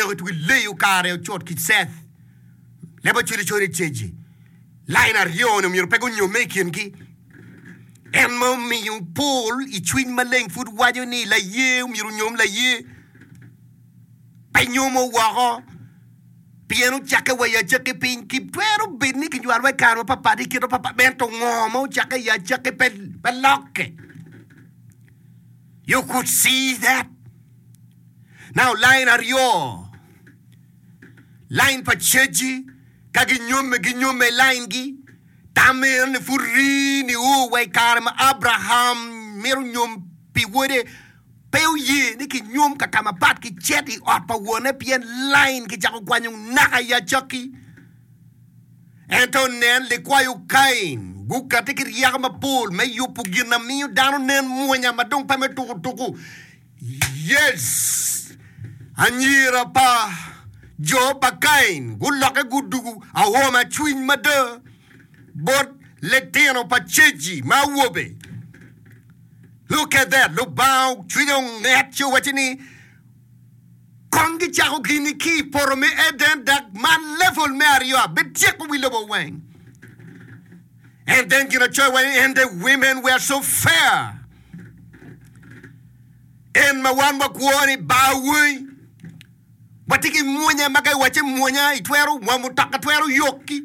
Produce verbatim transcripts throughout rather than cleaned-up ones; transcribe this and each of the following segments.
Enoki tuki leyo kare ocot ki Seth. Leb Acholi coyo ni Ceji. Lain aryo-ni omyero pe gunyomme i kingi. En ma omiyo Paul i cwiny maleng pud waco ni laye omyero onyom laye. Pe nyomo woko pien ocakke wa i acakki piny. Kitwero bed ni kinywalowa i kare mapapat i kit mapapat, ento ngo ma ocakke i acakki pe, pe lokke. You could see that. Now line aryo, line pa ceci ka ginyomme ginyomme i line gi. Tam eno ni pud rii nio wa i kare ma Abraham mito nyom pi wode. Pe oye ni kinyom ka ka mapat ki cet i ot pa wonne pien lain kicako kwanyo naka i acakki. Ento nen, likwayo Kain gukatti ki ryeko mapol me yubo gin ma miyo dano nen mwonya ma dong pe me tuko tuko. Yes! Anyira pa jo pa Kain gulokke gudugo aoma cwiny mada bot litino pa Ceji ma awobe. Look at that! Lubanga cwinye onget ci owacce ni, Kong gicako gini ki i poto me Eden dok man level me aryo abityeko wi lobo weng. And then ginacoya waco ni, And the women were so fair. En ma wan wakwo ni bar wangi. Watye ki mwonya ma ka iwacce mwonya itwero wa mutoka twero yoki.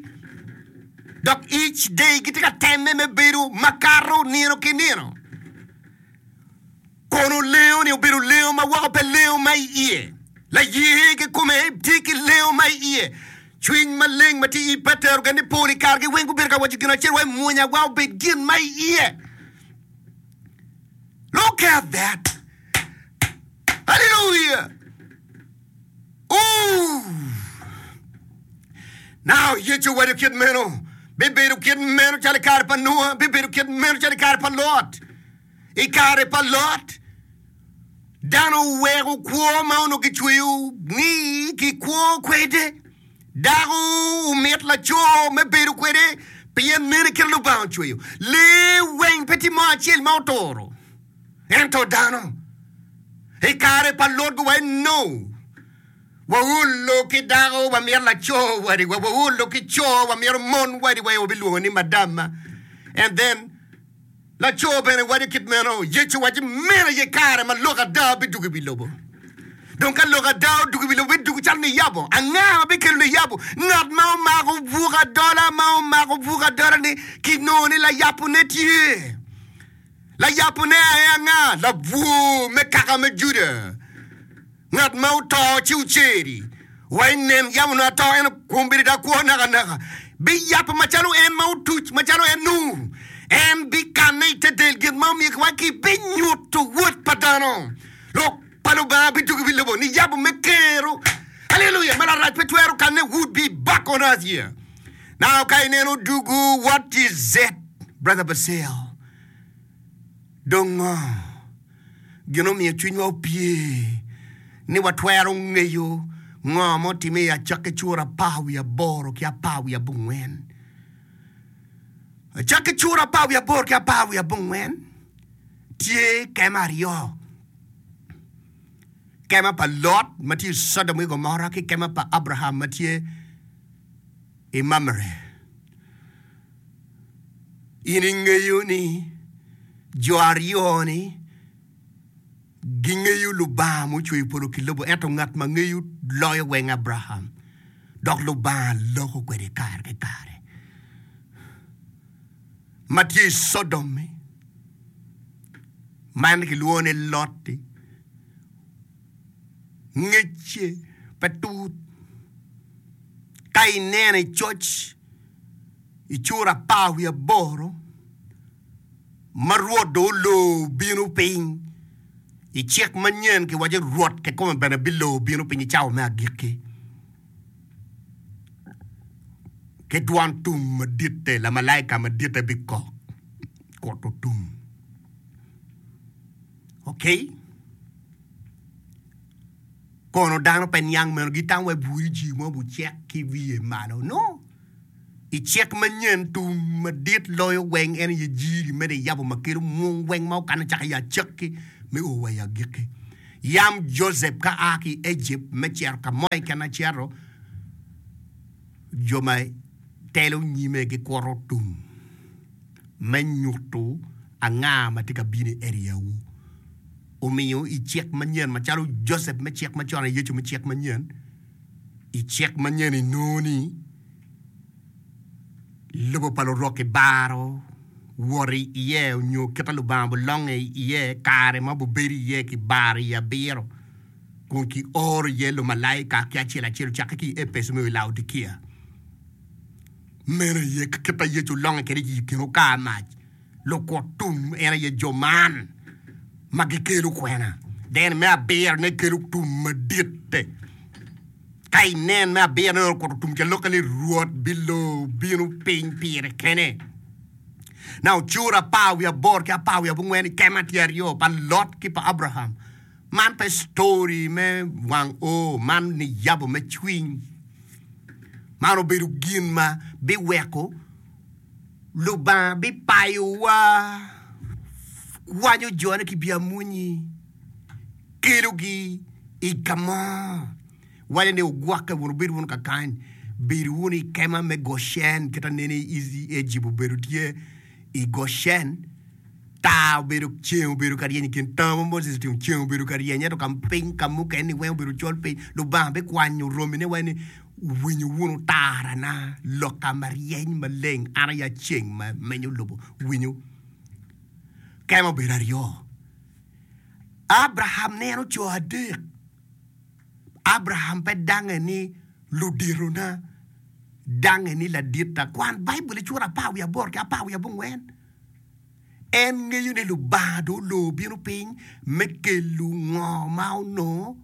Dok each day gitye ka temme me bedo makato nino ki nino. Kono lengo ni obedo lengo ma woko pe lengo ma i iye. Laye kikome tye ki lengo ma i iye. Cwiny maleng ma tye i Petero gin ni pol i kargi weng gubedo ka waco gin acel wa i mwonya wa obed gin ma i iye. Look at that! Hallelujah! Ooh! Now, Yecu owaco kit meno, bibedo kit meno calo i kare pa Nua, bibedo kit meno calo i kare pa Lot. I kare pa Lot, dano oweko kwo ma onongo kicweyo ni kikwo kwede. Dako omit laco me bedo kwede pien meno kit Lubanga ocweyo. Lee weng pe tye mo acel ma oturo. Ento dano, i kare pa Lot guwaco ni, No! Waolo ki dako, wamito laco wadiwa, waolo ki co, wamito mon wadiwa, wabilwongo ni madamma. And then, laco bene waco kit meno. Yecu owaco ni meno aye kare ma lok ada bidwogo i wi lobo. Dong ka lok ada odwogo i wi lobo, bidwogo calo niyabo. Anga ma bikelo niyabo? Ngat ma omako buk adola, ma omako buk adola-ni kinongo ni layabone tye. Layabone aye anga? Labwor me kaka me Juda, ngat ma oto ci oceri. Wa i nen, yam onongo ato, ento kombeddi dong akwo nakanaka. Biyabo macalo en ma otuc, macalo en nu. En bikanne i te del gin ma omiyo kiwaco ki binyuto Wod pa dano. Lok pa Lubanga bidwogo i wi lobo niyabo me kero. Aleluya! Ma larac pe twero kanne would be back on earth here. Now ka ineno dugu, what is it, Brother Basile? Dong ngo gin omiyo cwinywa opye ni watwero ngeyo ngo ma otime i acakki cura apar wiye aboro ki apar wiye abongwen? Acakki cura apar wiye aboro ki apar wiye abongwen tye kema aryo, kema pa Lot ma tye i Codom ki Gomora ki kema pa Abraham ma tye i Mamre. In ingeyo ni jo aryo-ni gingeyo Lubanga mucweyo polo ki lobo, ento ngat ma ngeyo loyo weng Abraham, dok Lubanga loko kwede kare ki kare. Ma tye i Codom-mi, ma en kilwongo ni Lot-ti, ngecce pe tut. Ka ineno i coc i cura apar wiye aboro ma Rwot dong olor bino piny, i cik manyen kiwaco ni Rwot kikome bene bilor bino piny i cawa me agikki ki dwan tum maditte, lamalaika maditte bikok kuto tum. Okay? Kono dano pe niang meno, gitamo wai bwuri jii mo bucek ki wiye malo. No! I cik manyen, tum madit loyo weng en aye jiri me niyabo ma kelo mwong weng ma okano cako i acakki me o wa i agikki. Yam Josep ka a ki i Ejipt me cito ka mo keken acito, jo ma telo nyime gikuto tum me nyuto anga ma tye ka bino i eriawu. Omiyo i cik manyen, macalo Josep me cik macon aye Yecu me cik manyen, i cik manyen inongo ni lobo pa lurok kibaro wot iye nyo kit ma Lubanga bulonge iye kare ma bubedo iye kibaro i abiro kun kioro iye lumalaika ki acel acel ocakke ki i Epeco me o i Laodikia. Meno aye kit ma Yecu olonge kwede i kin okar mac. Lukut tum en aye jo man ma gikelo kwena. Then me abirone kelo tum madit-te. Ka inen me abirone okuto tum ca lokke ni Rwot bilor bino piny pire kene. Now cura apar wiye aboro ki apar wiye abongwen i kema tye aryo pa Lot ki pa Abraham. Man pe story me wang o, man niyabo me cwiny. Man obedo gin ma biweko Lubanga bipayowa, kwanyo jone ki biamwonyi, kelogi i ka mo. Waco ni, Wugwokke wunu, wubed wunu kakany, bed wunu i kema me Gocen, kit ma nene i Ejipt obedo tye i Gocen. Tar obedo, ceng obedo ka ryeny i kin tango ma Moses otingo, ceng obedo ka ryeny, ento ka piny ka mukene-ni weng obedo col piny. Lubanga bikwanyo romine weng ni, Wuwinyo wunu tarana, lokka ma ryeny maleng, an aye ceng ma menyo lobo. Winyo. Kema obedo aryo. Abraham neno co adek. Abraham pe dange ni luditona, dange ni laditta. Kwan Baibul i cura apar wiye aboro ki apar wiye abongwen. En ngeyo ni Lubanga dong olor bino piny me kelo ngo ma onongo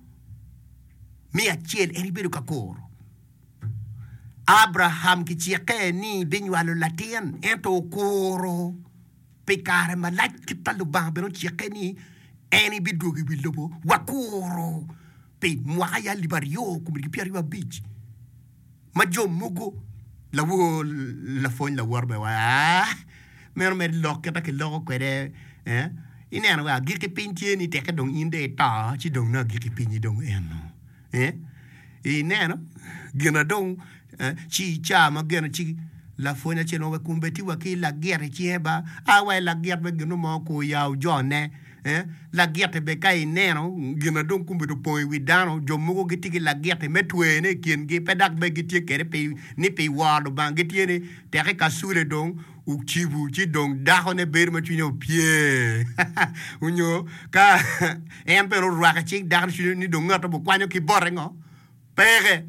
me acel en ibedo ka kuro. Abraham kicikke ni binywalo latin ento okuro pi kare malac kit pa Lubanga bene ocikke ni en ebidwogo i wi lobo wakuro pi mwaka ya alip aryo kome ki pyeraryo abic ma jo mogo lawor lapwony lawot bene waco aa meno mere lok kit ma kiloko kwede eh ineno wa agikki piny tye ni teke dong in dong ito ci dong nongo agikki pinyi dong eno eh ineno gin na dong ci ca ma geno ci lapwony acel mo wek kombe tye wa ki lagit i cinge ba a wa i lagit me gin mo kur ya ojone lagit-ti bene ka ineno gin na dong kombe opong i wi dano jo mogo gitye ki lagit-ti me twene i kingi pe dok bene gitye kwede pi ni pi woro Lubanga gitye ni teke kacule dong ocibo ci dong dakone bedo ma cwinye opye onyo ka en bene orwako i cing dakone cwinye ni dong ngat obikwanyo ki bote ngo Peke.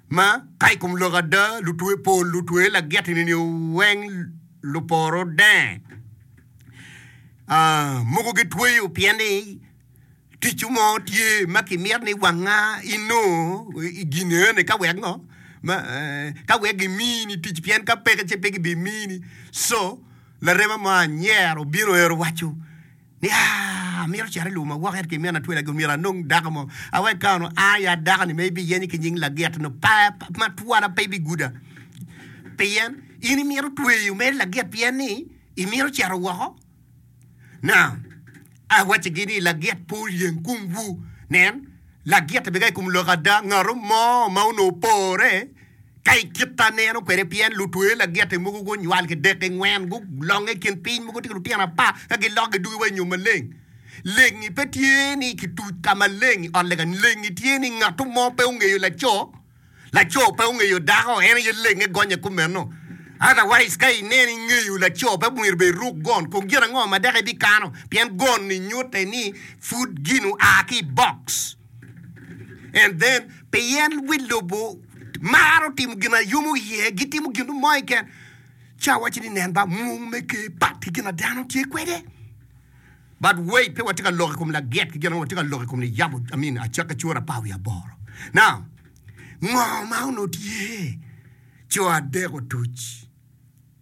Ma ka i kom lok ada, lutwe pol lutwe lagit-ni ni weng luporo denge. Mogo gitweyo pien ni tic mo tye ma kimito ni wanga inongo gin eni ka wek ngo ka wek gimini tic pien ka peke ci pe gibimini. Co larema mo anyero obino ero owaco Ni, Aa, amito cito i lobo ma woko ento kimina twela gi myero anong dako mo. Awek ka ono a ya dako-ni ma ibiyenyo ki nying lagit no pa ma twala pe ibiguda. Pien in imito tweyo mere lagit pien ni imito cito woko. Now, awaccigi ni lagit pe oryeng komwu. Nen, lagit bene ka i kom lok ada, ngat mo ma onongo opore Ka i kit aneno kwede pien lutwe lagiti mogo gunywal ki dek ki ngwen, gulonge i kin piny mogo tye ki lutino apar, ka gilok gidugi wa i nyom maleng. Lengi pe tye ni kituc ka maleng i ot lega, lengi tye ni ngat mo pe ongeyo laco, laco pe ongeyo dako, en aye lenge gonye kumeno. Otherwise ka ineno ingeyo laco pe myero bene iruk gon, kong gin ango ma dok ibikano pien gon-ni nyute ni pud gin oa ki i box. And then pien wi lobo maro timo gin a yomo iye, gitimo gin mo keken, ci awaco ni nen ba mung me ker pat ki gin a dano tye kwede. But wait, pe watye ka lok i kom lagit ki gin ango, watye ka lok i kom niyabo, I mean, acakki cura apar wiye aboro. Now, ngo ma onongo tye? Co adek otuc.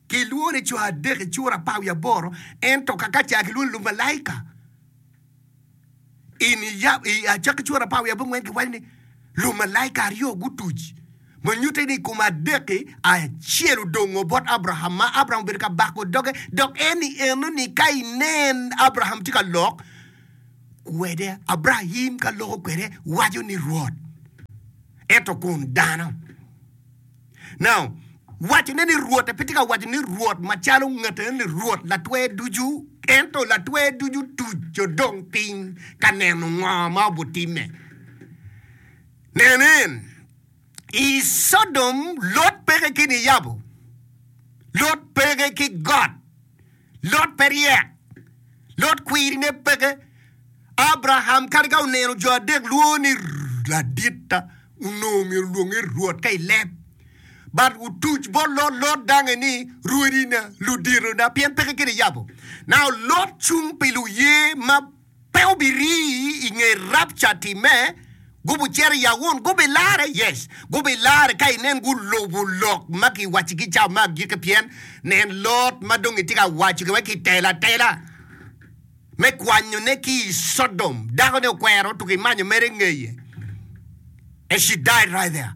Kilwongo ni co adek i cura apar wiye aboro, ento kakaca kilwongo ni lumalaika. I acakki cura apar wiye abongwen kiwaco ni lumalaika aryo gutuc ma nyutte ni i kom adek-ki acel odongo bot Abraham ma Abraham obedo ka bako doge dok en i eno ni ka inen Abraham tye ka lok kwede, Abrahim ka loko kwede waco ni Rwot, ento kun dano. Now, wacone ni Rwot pe tye ka waco ni Rwot macalo ngat eno ni Rwot latwer ducu, ento latwer ducu tuco dong piny ka neno ngo ma obutimme. Nen en, i Codom Lot peke ki niyabo, Lot peke ki got, Lot pe ryek, Lot kwirine peke. Abraham kadi ka oneno jo adek lwongo ni laditta, onongo myero olwonge Rwot ka i leb. But otuc bot Lot, Lot dange ni rwodina, luditona, pien peke ki niyabo. Now Lot cung pi luye ma pe obirii i nge rapca timme, gubucito i awun, gubilare? Yes, gubilare ka inen gulubo lok ma kiwacigi cawa me agikki, pien nen Lot ma dong itye ka waco ki wek kitelo atela me kwanyone ki i Codom. Dakone okwero otuko imanyo mere ngeye. And she died right there.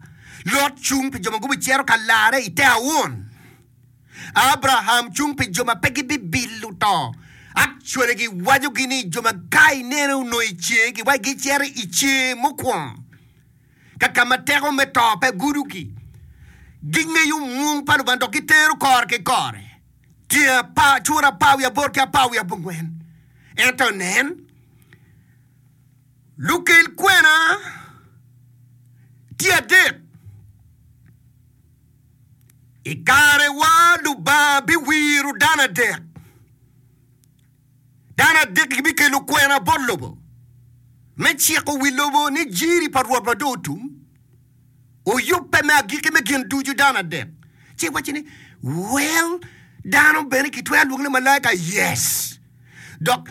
Lot cung pi jo ma gubicito ka larre i te awun. Abraham cung pi jo ma pe gibibilo to. Actually giwacogi ni jo ma ka inene onongo i cer giwaco gicito i cer mukwongo ka ka ma teko me to pe gudogi. Gingeyo mwung pa Lubanga dok gitero kore ki kore. Tye apar, cura apar wiye aboro ki apar wiye abongwen. Ento nen, lukel kwena tye adek. I karewa Lubanga biwiro dano adek. Dano adek gibikelo kwena bot lobo me ciko wi lobo ni jiri pa Rwot ma dong otum oyubbe me agikki me gin ducu. Dano adek. Ci iwaco ni, Well, dano bene kitwero lwongo ni malaika? Yes. Dok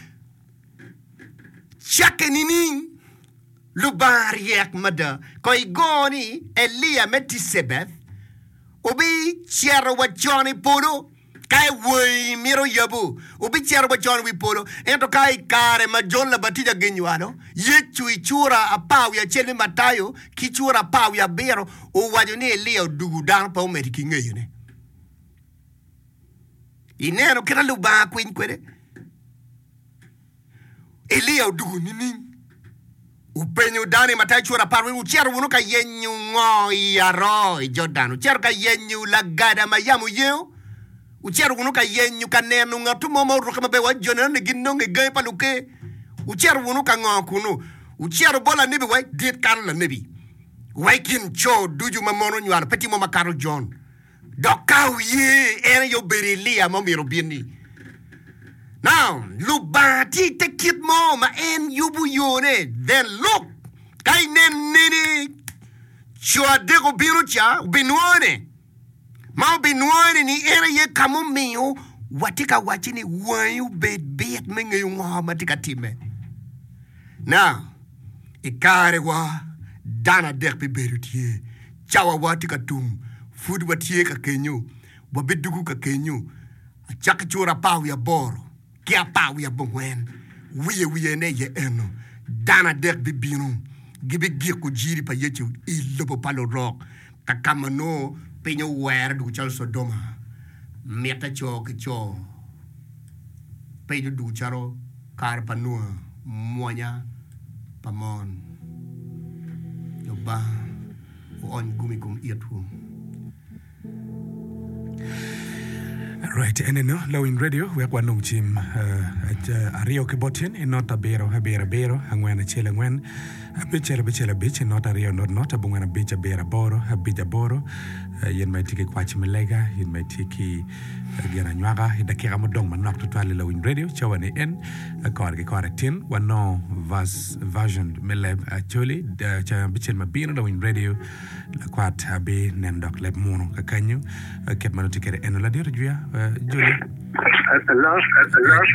cakke nining? Lubanga ryek mada. Kong igo ni Elia me Ticebeth obicito wa con i polo ka ewangi mito yabo, obicito wa con i wi polo. Ento ka i kare ma Jon Labatija ginywalo Yecu i cura apar wiye acel me Matayo ki cura apar wiye abiro, owaco ni Elia odugo dano pe omedo ki ngeyone. Ineno kit ma Lubanga kwiny kwede? Elia odwogo nining? Openyo dano i Matayo cura apar ni, Wucito wunu ka yenyo ngo i aroo i Jordan? Wucito ka yenyo lagada ma yamo yengo? Wucito wunu ka yenyo ka neno ngat mo ma orukke maber wa jo neno ni ginongo i gangi pa luker? Wucito wunu ka ngo kunnu? Wucito bot lanebi wa dit kato lanebi wa i kin co ducu ma mon onywalo pe tye mo makato Jon. Dok ka wuye, en aye obedo Elia ma omyero obin-ni. Now, Lubanga tye i te kit mo ma en yubo yone. Then look, ka inen nene co adek obino ca, obinwone. Ma obinwone ni en aye ka mumiyo watye ka wacci ni wangi obed bit me ngeyo ngo ma tye ka timme. Now, i karewa, dano adek bibedo tye. Cawawa tye ka tum, pud watye ka kenyo, wabidwogo ka kenyo acakki cura apar wiye aboro ki apar wiye abongwen. Wiye wiyene aye eno, dano adek bibino, gibigiko jiri pa Yecu i lobo pa lurok, ka ka ma nongo piny owere dwogo calo Codoma, mitte co ki co, piny odwogo calo kare pa Nua, mwonya pa mon. Lubanga oony gum i kom itwu. Right, eneno Lawiny Radio wek wanong cim uh, aryo ki bot tyen i not abiro abiro abiro angwen acel angwen abicel abicel abic not aryo not not abongwen abic abiro aboro abic aboro uh, yin ma itye ki kwac me lega yin ma itye ki Gin anywaka i dakika mudong manok tutwal i Lawiny Radio cawa ni en kore ki kore tin wanongo version me leb Acholi cawa abicel ma bino Lawiny Radio lakwat abi neno dok leb munu kakanyo kit ma nongo tye kwede eno ladit ojwiya Joli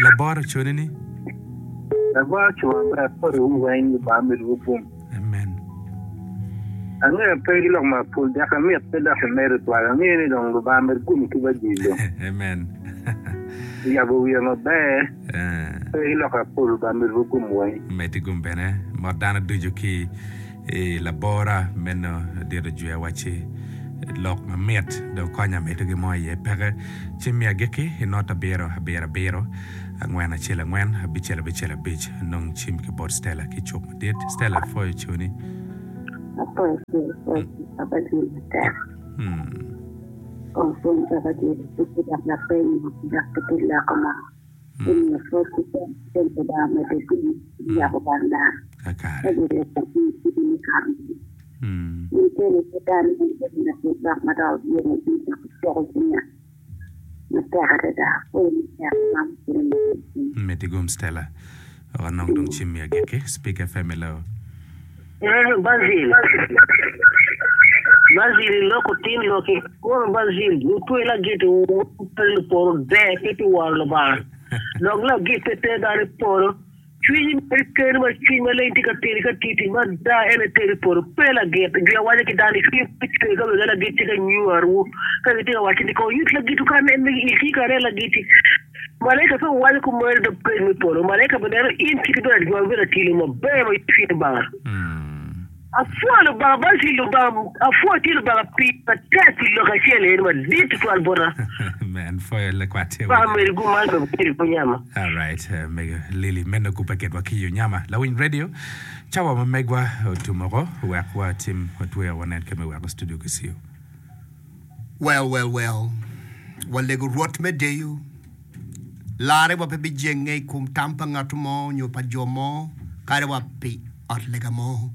laboro coni ni Laboro cuma ber poti weng Lubanga medo gum. Amen. Angeyo pe ki lok mapol dok amit pe dok imedo twal. Angeyo ni dong Lubanga med gum ki bajil dong. Amen. Oyabo wiya maber. Eh. Pe ki lok mapol Lubanga med gum weng. Med gum bene. Mot dano ducu ki i labora meno dit ojwiya wacci Lok mamit dong konya medo gi mo iye peke. Cim me agikki i not abiro abiro abiro angwen acel angwen abicel abicel abic nong cim ki bot Stella ki cuk madit. Stella apwoyo coni. Apwoyo coni, apwoyo Papa Jil matek. Hmm. Kong pwony Papa Jil ki dok lapeny dok ki pi loko mo. Omiyo pwod ki cen Lubanga omedde gum yabo wang dano. Kakare. Ka gin kit me kare-ni. Hmm. In kene pe dano in bedo latit lok ma dok oyomo cwiny dok ocoko cwinya matek adada. Apwoyo matek man kene me cwiny. Miti gum Stella. Wek anong dong cim me agikki. Speak FM hello. Eh, Basil. Basil iloko tin loki. Kono Basil, lutwe lagit pe luporo ber pe pi woro Lubanga. Dok lagit pe ter dano i polo. Cwiny meri keni ma cwiny maleng tye ka teri ka titi mada en aye teri i polo. Pe lagit. Jwi awaco ki dano ni cwiny pe cwer ka wega lagit tye ka nywarowu. Ka gitye ka waco ni kong yut lagitwu ka nen megi il tye ka nen lagiti. Malaika pe owaco kumeno dok peny me polo. Malaika bineno in kit ibedo ajwang, ibedo atilo maber ma cwiny Lubanga. Apwoyo Lubanga, Basil Lubanga, apwoyo tye Lubanga pi matek pi lok acel eni madit tutwal bota. Amen. Pwoyo lakwat tye Paka winyo. meri gum man dong tye i nyama. Alright, eh, mego Lily meno kubbe kedwa ki yo nyama. Lawiny radio, cawa ma megwa otum oko, wek watim watweyo wanen kit me weko studio ki siyo. Well, well, well. Walego Rwot me deyo. Larrewa pe bijenge i kom tam pa ngat mo nyo pa jo mo, kadi wa pi ot lega mo.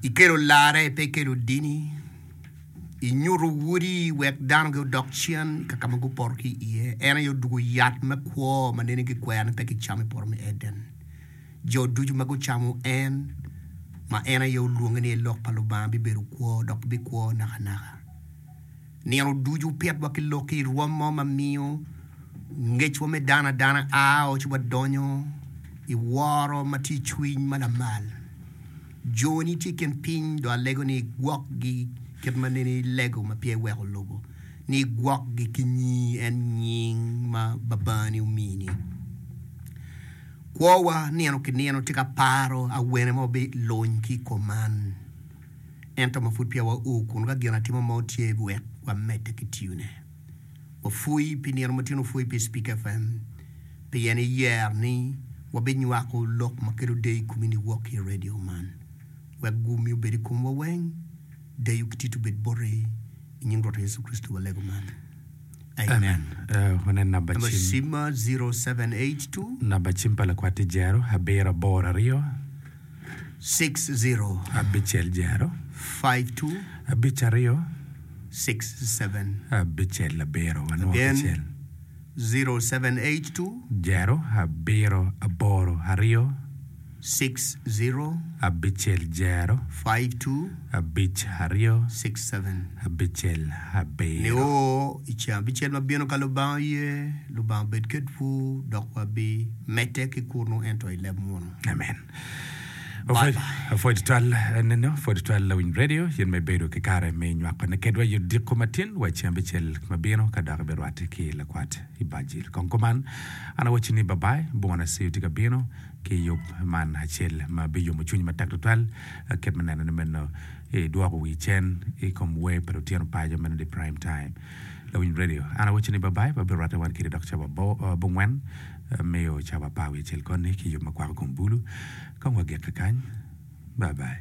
Ikelo larre, pe ikelo dini. Inyuto wodi wek dano gudok cen ka ka ma gupoto ki iye. En aye odwogo yat me kwo ma nene gikwero ni pe kicamo i poto me Eden. Jo ducu ma gucamo en, ma en aye olwonge ni Lok pa Lubanga, bibedo kwo dok gibikwo nakanaka. Nino ducu pitwa ki lok-ki i rwom mo ma miyo ngecwa me dano adana a ci wadonyo i woro ma tye i cwiny ma lamal. Joni tye i kin piny dong alego ni igwokgi kit ma nene ilego ma peya iweko lobo, ni igwokgi ki nyingi en nying ma Babani omini. Kwowa nino ki nino tye ka paro awene ma wabiluny ki i kom man. Ento ma pud peya wao kunu, ka gin atima mo tye wek wamedde ki tiyone. Wapwoyi pi nino ma tin opwoyi pi Speak FM pien iyero ni wabinywako lok ma kelo deyo i komi niwok ki i radio man. Wek gummi obed i komwa weng, deyo ki tit obed boti. I nying Rwotwa Yecu Kricito walego man. Amen. Amen. Uh, wanen namba Namba cim. cimma zero seven eight two. Namba cim pa lakwat tye jero abiro aboro aryo. Six zero. Abicel jero. Five two. Abic aryo. Six seven. Abicel abiro. Wanwo Again, kicel. zero seven eight two. Jero abiro aboro aryo. Six zero. Abicel jero. Five two. Abic aryo. Six seven. Abicel abiro. Nio i ceng abicel ma bino ka Lubanga oye, Lubanga obed kedwu, dok wabi medde ki kunu ento i leb munu. Amen. Bye bye. Apwoyo tutwal neno, apwoyo tutwal lawiny radio, in ma ibedo ki kare me nywako ne kedwa i odiko matin wa i ceng abicel ma bino ka dok ibirwatte ki lakwat i Bajil. Kong kuman, an awacci ni bye bye, bwona Siu tye ka bino ki yub man acel ma biyomo cwinyi matek tutwal kit me neno ni meno idwoko wi cen i kom wer pa lutino paco meno di prime time. Lawiny radio, an awacci ni bye bye, wabirwatte wan kede dok cawa abongwen miyo cawa apar wiye acel koni ki yub ma kwako kom bulu. Kong wagik kakany. Bye bye.